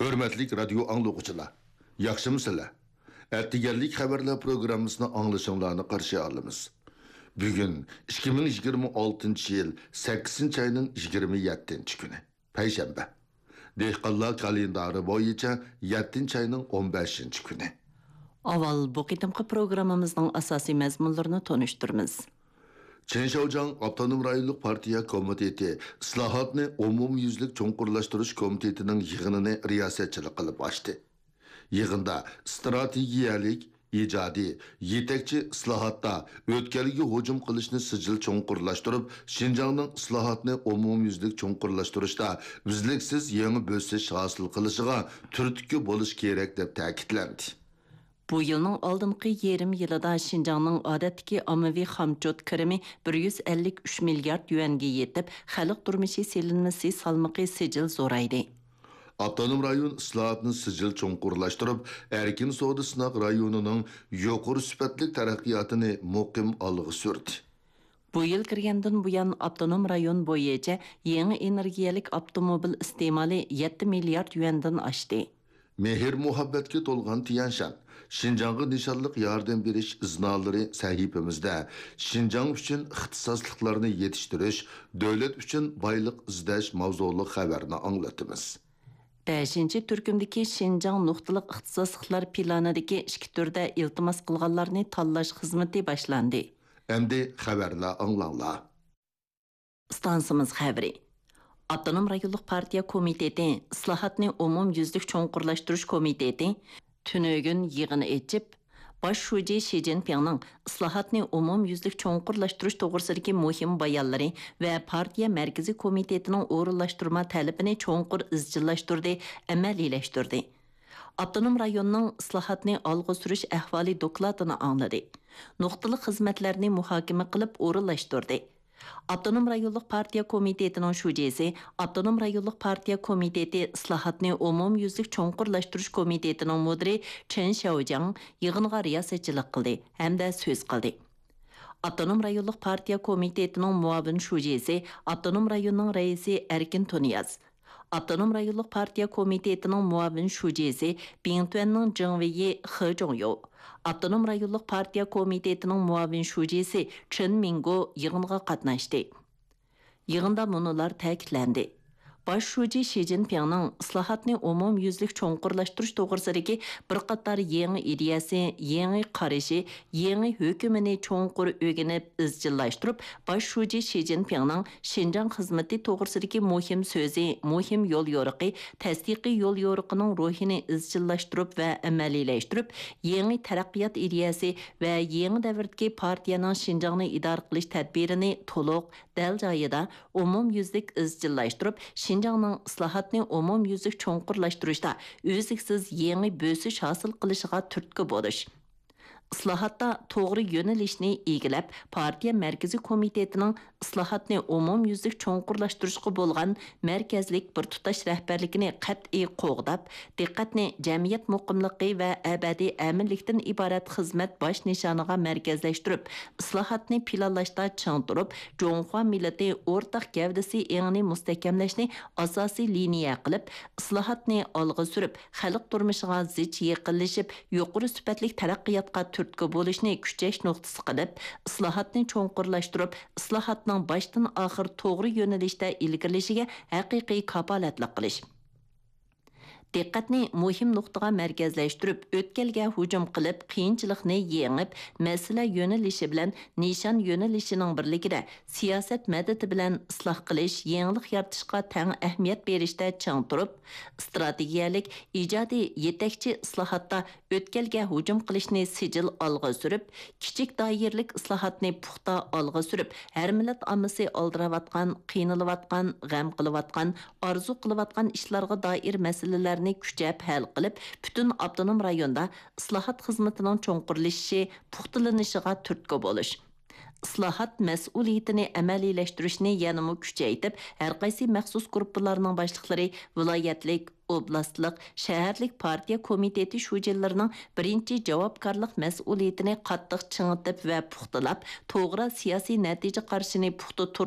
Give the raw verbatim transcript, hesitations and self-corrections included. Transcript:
ھۆرمەتلىك رادىيو ئاڭلىغۇچىلار، ياخشىمۇسىلەر؟ ئەتىگەنلىك خەۋەرلەر پروگراممىسىنى ئاڭلىشىڭلارنى قارشى ئالىمىز. بۈگۈن ئىككى مىڭ يىگىرمە ئالتىنچى يىل سەككىزىنچى ئاينىڭ يىگىرمە يەتتىنچى كۈنى، پەيشەنبە. دېھقانلار كالېندارى بويىچە يەتتىنچى ئاينىڭ ئون بەشىنچى كۈنى. ئاۋۋال بۇ قېتىمقى پروگراممىمىزنىڭ ئاساسىي مەزمۇنلىرىنى تونۇشتۇرىمىز. چېن شياۋجياڭ ئاپتونوم رايونلۇق پارتىيە كومىتېتى ئىسلاھاتنى ئومۇميۈزلۈك چوڭقۇرلاشتۇرۇش كومىتېتىنىڭ يىغىنىنى رىياسەتچىلىك قىلىپ ئاچتى. يىغىندا ئىستراتېگىيەلىك، ئىجادىي، يېتەكچى ئىسلاھاتتا ئۆتكەلگە ھۇجۇم قىلىشنى سىجىل چوڭقۇرلاشتۇرۇپ، شىنجاڭنىڭ ئىسلاھاتنى ئومۇميۈزلۈك چوڭقۇرلاشتۇرۇشتا ئۈزلۈكسىز يېڭى بۆسۈش ھاسىل قىلىشىغا تۈرتكە بولۇش كېرەك، دەپ تەكىتلەندى. بۇ يىلنىڭ ئالدىنقى يېرىم يىلىدا شىنجاڭنىڭ ئادەتتىكى ئاممىۋى خامچوت كىرىمى بىر يۈز ئەللىك ئۈچ مىليارد يۈەنگە يېتىپ، خەلق تۇرمۇشى سېلىنمىسى سالمىقى سىجىل زورايدى. ئاپتونوم رايون ئىسلاھاتنى سىجىل چوڭقۇرلاشتۇرۇپ، ئەركىن سودا سىناق رايونىنىڭ يۇقىرى سۈپەتلىك تەرەققىياتىنى مۇقىم ئالغا سۈردى. بۇ يىل كىرگەندىن بۇيان، ئاپتونوم رايون بويىچە يېڭى ئېنېرگىيەلىك ئاپتوموبىل ئىستېمالى يەتتە مىليارد يۈەندىن ئاشتى. مېھىر-مۇھەببەتكە تولغان تيەنشان، شىنجاڭغا نىشانلىق ياردەم بېرىش ئىزنالىرى سەھىپىمىزدە شىنجاڭ ئۈچۈن ئىختىساسلىقلارنى يېتىشتۈرۈش، دۆلەت ئۈچۈن بايلىق ئىزدەش ماۋزۇلۇق خەۋەرنى ئاڭلىتىمىز. بەشىنچى تۈركۈمدىكى شىنجاڭ نۇقتىلىق ئىختىساسلىقلار پىلانىدىكى ئىككى تۈردە ئىلتىماس قىلغانلارنى تاللاش خىزمىتى باشلاندى. ئەمدى خەۋەرلەر ئاڭلاڭلار. ئىستانسىمىز خەۋىرى. ئاپتونوم رايونلۇق پارتىيە كومىتېتى ئىسلاھاتنى ئومۇميۈزلۈك چوڭقۇرلاشتۇرۇش كومىتېتى تۈنۈگۈن يىغىن ئېچىپ، باش شۇجى شى جىنپىڭنىڭ ئىسلاھاتنى ئومۇميۈزلۈك چوڭقۇرلاشتۇرۇش توغرىسىدىكى مۇھىم بايانلىرى ۋە پارتىيە مەركىزىي كومىتېتىنىڭ ئورۇنلاشتۇرما تەلىپىنى چوڭقۇر ئىزچىللاشتۇردى، ئەمەلىيلەشتۈردى. ئاپتونوم رايوننىڭ ئىسلاھاتنى ئالغا سۈرۈش ئەھۋالى دوكلاتىنى ئاڭلىدى. نۇقتىلىق خىزمەتلەرنى مۇھاكىمە قىلىپ ئورۇنلاشتۇردى. ئاپتونوم رايونلۇق پارتىيە كومىتېتىنىڭ شۇجىسى، ئاپتونوم رايونلۇق پارتىيە كومىتېتى ئىسلاھاتنى ئومۇميۈزلۈك چوڭقۇرلاشتۇرۇش كومىتېتىنىڭ مۇدىرى چېن شياۋجياڭ يىغىنغا رىياسەتچىلىك قىلدى ھەمدە سۆز قىلدى. ئاپتونوم رايونلۇق پارتىيە كومىتېتىنىڭ مۇئاۋىن شۇجىسى، ئاپتونوم رايوننىڭ رەئىسى ئەركىن تۇنىياز، ئاپتونوم رايونلۇق پارتىيە كومىتېتىنىڭ مۇئاۋىن شۇجىسى بىڭتۈەننىڭ جېڭ ۋېيى خې جوڭيو، ئاپتونوم رايونلۇق پارتىيە كومىتېتىنىڭ مۇئاۋىن شۇجىسى چېن مىڭگو يىغىنغا قاتناشتى. يىغىندا مۇنۇلار تەكىتلەندى: باش شۇجى شى جىنپىڭنىڭ ئىسلاھاتنى ئومۇميۈزلۈك چوڭقۇرلاشتۇرۇش توغرىسىدىكى بىر قاتار يېڭى ئىدىيەسى، يېڭى قارىشى، يېڭى ھۆكۈمىنى چوڭقۇر ئۆگىنىپ ئىزچىللاشتۇرۇپ، باش شۇجى شى جىنپىڭنىڭ شىنجاڭ خىزمىتى توغرىسىدىكى مۇھىم سۆزى، مۇھىم يوليورۇقى، تەستىقىي يوليورۇقىنىڭ روھىنى ئىزچىللاشتۇرۇپ ۋە ئەمەلىيلەشتۈرۈپ، يېڭى تەرەققىيات ئىدىيەسى ۋە يېڭى دەۋردىكى پارتىيەنىڭ شىنجاڭنى ئىدارە قىلىش تەدبىرىنى تولۇق، دەل جايىدا، ئومۇميۈزلۈك ئىزچىللاشتۇرۇپ، شىنجاڭنىڭ ئىسلاھاتنى ئومۇميۈزلۈك چوڭقۇرلاشتۇرۇشتا ئۈزلۈكسىز يېڭى بۆسۈش ھاسىل قىلىشىغا تۈرتكە بولۇش. ئىسلاھاتتا توغرا يۆنىلىشنى ئىگىلەپ، پارتىيە مەركىزىي كومىتېتىنىڭ ئىسلاھاتنى ئومۇميۈزلۈك چوڭقۇرلاشتۇرۇشقا بولغان مەركەزلىك بىر تۇتاش رەھبەرلىكىنى قەتئىي قوغداپ، دىققەتنى جەمئىيەت مۇقىملىقى ۋە ئەبەدىي ئەمىنلىكتىن ئىبارەت خىزمەت باش نىشانىغا مەركەزلەشتۈرۈپ، ئىسلاھاتنى پىلانلاشتا چىڭ تۇرۇپ، جۇڭخۇا مىللىتى ئورتاق گەۋدىسى ئېڭىنى مۇستەھكەملەشنى ئاساسىي لىنىيە قىلىپ، ئىسلاھاتنى ئالغا سۈرۈپ، خەلق تۇرمۇشىغا زىچ يېقىنلىشىپ، يۇقىرى سۈپەتلىك تەرەققىياتقا تۈرتكە بولۇشنى كۈچەش نۇقتىسى قىلىپ، ئىسلاھاتنى چوڭقۇرلاشتۇرۇپ، ئىسلاھاتنىڭ باشتىن ئاخىر توغرا يۆنىلىشتە ئىلگىرىلىشىگە ھەقىقىي كاپالەتلىك قىلىش. دىققەتنى مۇھىم نۇقتىغا مەركەزلەشتۈرۈپ، ئۆتكەلگە ھۇجۇم قىلىپ، قىيىنچىلىقنى يېڭىپ، مەسىلە يۆنىلىشى بىلەن نىشان يۆنىلىشىنىڭ بىرلىكىدە سىياسەت مەدىتى بىلەن ئىسلاھ قىلىش، يېڭىلىق يارىتىشقا تەڭ ئەھمىيەت بېرىشتە چىڭ تۇرۇپ، ئىستراتېگىيەلىك، ئىجادىي، يېتەكچى ئىسلاھاتتا ئۆتكەلگە ھۇجۇم قىلىشنى سىجىل ئالغا سۈرۈپ، كىچىك دائىرىلىك ئىسلاھاتنى پۇختا ئالغا سۈرۈپ، ھەر مىللەت ئاممىسى ئالدىراۋاتقان، قىينىلىۋاتقان، غەم قىلىۋاتقان، ئارزۇ قىلىۋاتقان ئىشلارغا دائىر مەسىلىلەرنى كۈچەپ ھەل قىلىپ، پۈتۈن ئاپتونوم رايوندا ئىسلاھات خىزمىتىنىڭ چوڭقۇرلىشىشى، پۇختىلىنىشىغا تۈرتكە بولۇش. ئىسلاھات مەسئۇلىيىتىنى ئەمەلىيلەشتۈرۈشنى يەنىمۇ كۈچەيتىپ، ھەرقايسى مەخسۇس گۇرۇپپىلارنىڭ باشلىقلىرى ۋىلايەتلىك، ئوبلاستلىق، شەھەرلىك پارتىيە كومىتېتى شۇجىلىرىنىڭ بىرىنچى جاۋابكارلىق مەسئۇلىيىتىنى قاتتىق چىڭىتىپ ۋە پۇختىلاپ، توغرا سىياسىي نەتىجە قارىشىنى پۇختا تۇر-